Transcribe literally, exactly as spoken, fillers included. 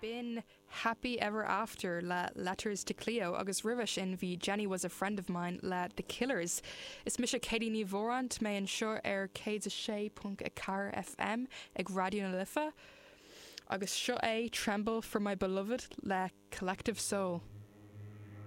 B'in Happy Ever After le Letters to Cleo agus roimhe sin bhí Jenny was a friend of mine le The Killers. Is mise Katie Ní Mhóráin mé anseo ar céad a sé ponc a ceathair FM ag Raidió na Life. Agus seo é Tremble for my beloved le Collective Soul.